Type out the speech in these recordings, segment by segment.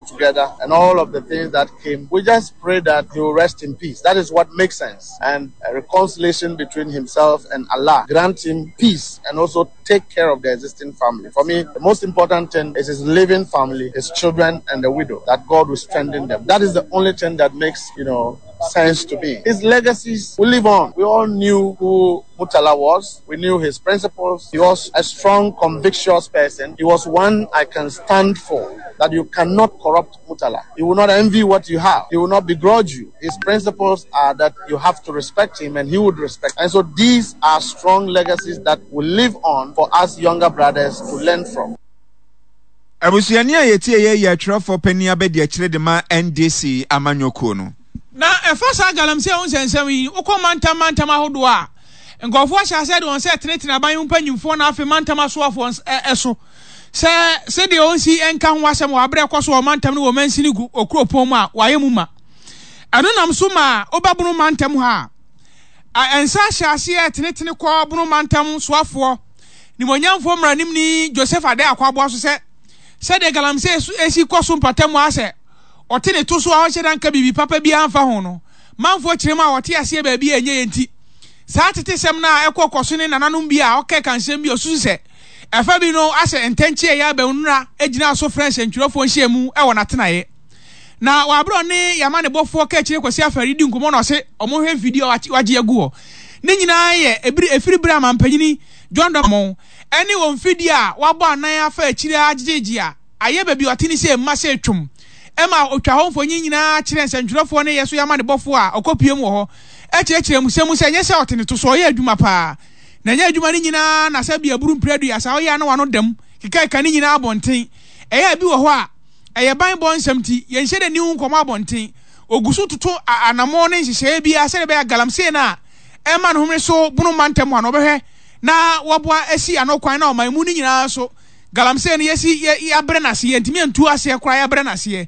Together and all of the things that came. We just pray that he will rest in peace. That is what makes sense. And a reconciliation between himself and Allah grant him peace and also take care of the existing family. For me, the most important thing is his living family, his children, and the widow, that God will strengthen them. That is the only thing that makes, you know, sense to me. His legacies will live on. We all knew who Mutala was. We knew his principles. He was a strong, convictious person. He was one I can stand for, that you cannot corrupt Mutala. He will not envy what you have. He will not begrudge you. His principles are that you have to respect him and he would respect. And so these are strong legacies that will live on for us younger brothers to learn from. Abusuani a yɛtie yɛ yɛ atwerɛfoɔ panin abadiakyire de ma NDC amanyɔkuo no. Na ɛfa saa galamsey ho nsɛnsɛm yi, wokɔ mantam mantam ahodoɔ a, nkurɔfoɔ ahyɛ aseɛ de wɔn nsa retenetene aban mu mpanyimfoɔ na afei mantam asoafoɔ so sɛ sɛdeɛ ɔnsi nka ho asɛm wɔ aberɛ ɛkɔ so wɔ mantam no wɔ mansini kuropɔn mu a wɔayɛ mu ma. Ɛno nam so ma woba Bono mantam ha a, nsa ahyɛ aseɛ retenetene kɔ Bono mantam soafoɔ nimonyamfoɔ mmaranimni Joseph Adeh Akwaboah so sɛ sɛdeɛ galamsey si kɔ so mpatamu ara sɛ ɔte ne to so a ɔnhyɛ da nka biribi papa biara mfa ho no, manfoɔ kyerɛ mu a wɔte aseɛ baabi a ɛnyɛ yɛ nti. Saa atetesɛm no a ɛkɔ kɔ so ne nananom bi a ɔkɛka nsɛm bi a ɔsusu sɛ ɛfa bi no asɛ ntɛnkyea yi aba nnora gyinaa so frɛɛ nsɛntwerɛfoɔ nhyiamu wɔ n'atenaeɛ. Na wɔ aberɛ a ɔne yɛn amanebɔfoɔ Kaakyire Kwasi Afari redi nkɔmmɔ na ɔse wɔhwɛ mfidie a wagye agu hɔ ne nyinaa yɛ ɛbiri ɛfiri berɛ a mampanyini John Dɔmɔn ɛne wɔn mfidie a wabɔ anan afa akyire ara gyegyegye a ayɛ baabi a ɔte ne sɛ mma sɛ twom ma ɔtwa hɔ mfonyin nyinaa kyerɛ nsɛntwerɛfoɔ ne yɛ so yɛ amanebɔfoɔ a ɔkɔpue mu wɔ hɔ kyerɛkyerɛ mu sɛ mu sɛ ɛnyɛ sɛ ɔte ne to so ɔyɛ adwuma paa na ɛnyɛ adwuma no nyinaa na sɛ bi aburu mprɛ aduasa ɔyɛ a na wano dam kekakeka ne nyinaa abɔnten ɛyɛ a bi wɔ hɔ a ɛyɛ banbɔ nsɛm nti yɛnhyɛ da nni ho nkɔmmɔ abɔnten ɔgu so toto anammɔn ne nhyehyɛeɛ biara sɛdeɛ ɛbɛyɛ a galamsey no a ɛma no homene so bono mantam hɔ a na ɔbɛhwɛ na waboa asi ano kwan na ɔman mu no nyinaa nso Galamsey no yɛsi yɛ yɛabrɛ no ase yɛntumi antu aseɛ koraa yɛabrɛ no aseɛ.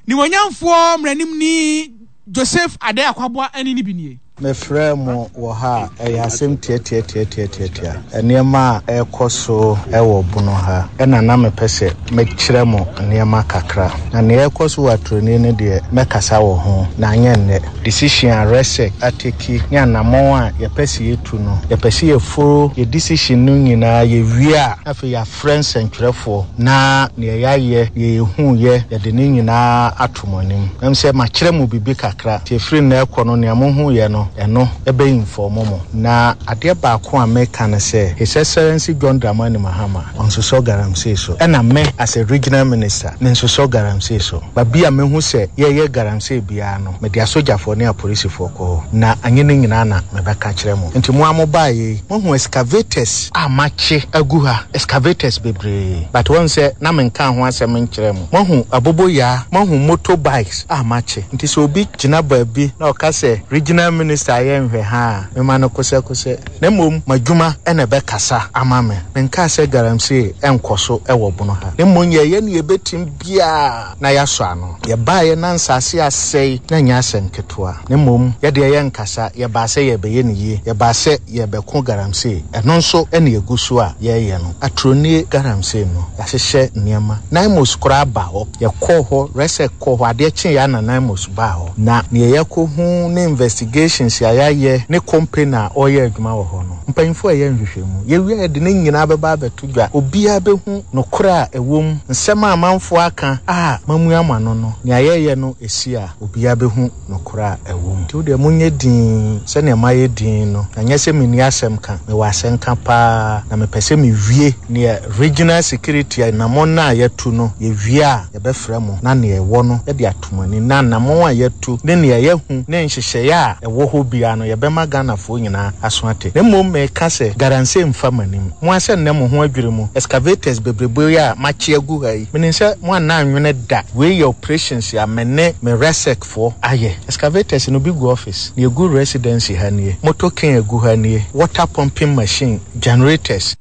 Nimuonyamfoɔ mmaranimni Joseph Adeh Akwaboah ɛne no bi nie. Mefrɛɛ mo wɔ ha a, ɛyɛ asɛm tiatiatiatiatiatia. Nneɛma a ɛrekɔ so wɔ Bono ha na na mepɛ sɛ mekyerɛ mo nneɛma kakra. Na nea ɛrekɔ so wɔ Aturoni no deɛ, mɛkasa wɔ ho, na anyɛ nnɛ. Decision a RESEC ateki ne anammɔn a yɛpɛ sɛ yɛtu no, yɛpɛ sɛ yɛforo yɛ decision no nyinaa, yɛwie a, na afei yɛafrɛ nsɛntwerɛfoɔ na deɛ yɛayɛ, deɛ yɛhuiɛ, yɛde ne nyinaa ato mo anim. Ɛm sɛ makyerɛ mo biribi kakra, nti ɛfiri nnɛ rekɔ no, nea mohuiɛ no, ɛno bɛ inform mo. Na adeɛ baako a meka ne sɛ, His Excellency John Dramani Mahama, ɔnsosɔ galamsey so, ɛna me as a regional minister, mensosɔ galamsey so. Baabi a mehu sɛ yɛreyɛ galamsey biara no, mede asogyafoɔ ne apolisifoɔ kɔ hɔ. Na anyɛ ne nyinaa na mebɛka akyerɛ mo. Nti mo ara mobaeɛ yi, moahu excavators a makye agu ha, excavators bebree. But woahu sɛ na menkaa ho asɛm nkyerɛɛ mo. Moahu aboboyaa, moahu motor bikes a makye. Nti sɛ obi gyina baabi na ɔka sɛ regional minister ayɛ nhwɛhaa a, mema no kosɛkosɛ. Na mmom m'adwuma na ɛbɛkasa ama me. Menkaa sɛ galamsey nkɔ so wɔ Bono ha. Na mmom yɛyɛ nea yɛbɛtumi biara na yɛasɔ ano. Yɛbaeɛ na nsase asɛe, na ɛnyɛ asɛm ketewa. Na mmom yɛdeɛ yɛnkasa, yɛbaa sɛ yɛrebɛyɛ no yie, yɛbaa sɛ yɛrebɛko galamsey. Ɛno nso na yɛgu so a yɛreyɛ no. Aturoni galamsey no, yɛahyehyɛ nneɛma. Naimos koraa baa hɔ. Yɛkɔɔ hɔ, Resek kɔɔ hɔ, adeɛ kyeeɛ ara na Naimos baa hɔ. Na deɛ yɛakɔhu ne investigations a yɛayɛ ne company a ɔreyɛ adwuma wɔ hɔ no, mpanyinfoɔ a ɛyɛ nhwehwɛmu, yɛwie a yɛde ne nyinaa bɛba abɛto dwa. Obiara bɛhu nokorɛ a ɛwɔ mu, nsɛm a amanfoɔ aka a moamua mo ano no, nea yɛreyɛ no ɛsi a, obiara bɛhu nokorɛ a ɛwɔ mu. Nti wo deɛ monyɛ dinn sɛdeɛ mayɛ dinn no, na nyɛ sɛ menni asɛm ka, mewɔ asɛnka pa ara, na mepɛ sɛ mewie neɛ regional security anammɔn no a yɛatu no, yɛwie a, yɛbɛfrɛ mo na nea ɛwɔ no yɛde ato mo ani, na anammɔn a yɛatu ne nea yɛahu ne nhyehyɛeɛ a ɛwɔ hɔ biara no yɛbɛma Ghanafoɔ nyinaa aso ate. Na mmom meka sɛ, Garansee mfa m'anim. Mo ara sɛ nnɛ mo ho adwiri mo, excavators bebrebe yi a makye agu ha yi, menim sɛ moanna annwene da. Wei yɛ operations a me ne me RESEC foɔ ayɛ. Excavators no bi gu office, nea ɛgu residency ha nie, motor cane a ɛgu ha nie, water pumping machine, generators.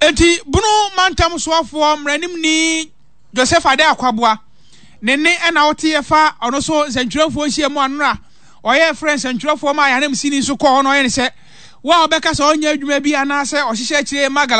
Enti Bono mantam soafoɔ mmaranimni Joseph Adeh Akwaboah ne nne na woteeɛ fa ɔno so nsɛntwerɛfoɔ nhyiamu anora ɔyɛɛ frɛ nsɛntwerɛfoɔ maa yɛn ananmusini nso kɔɔ hɔ na ɔyɛ ne sɛ wo a wobɛka sɛ ɔnyɛ adwuma bi anaasɛ ɔhyehyɛ akyire ma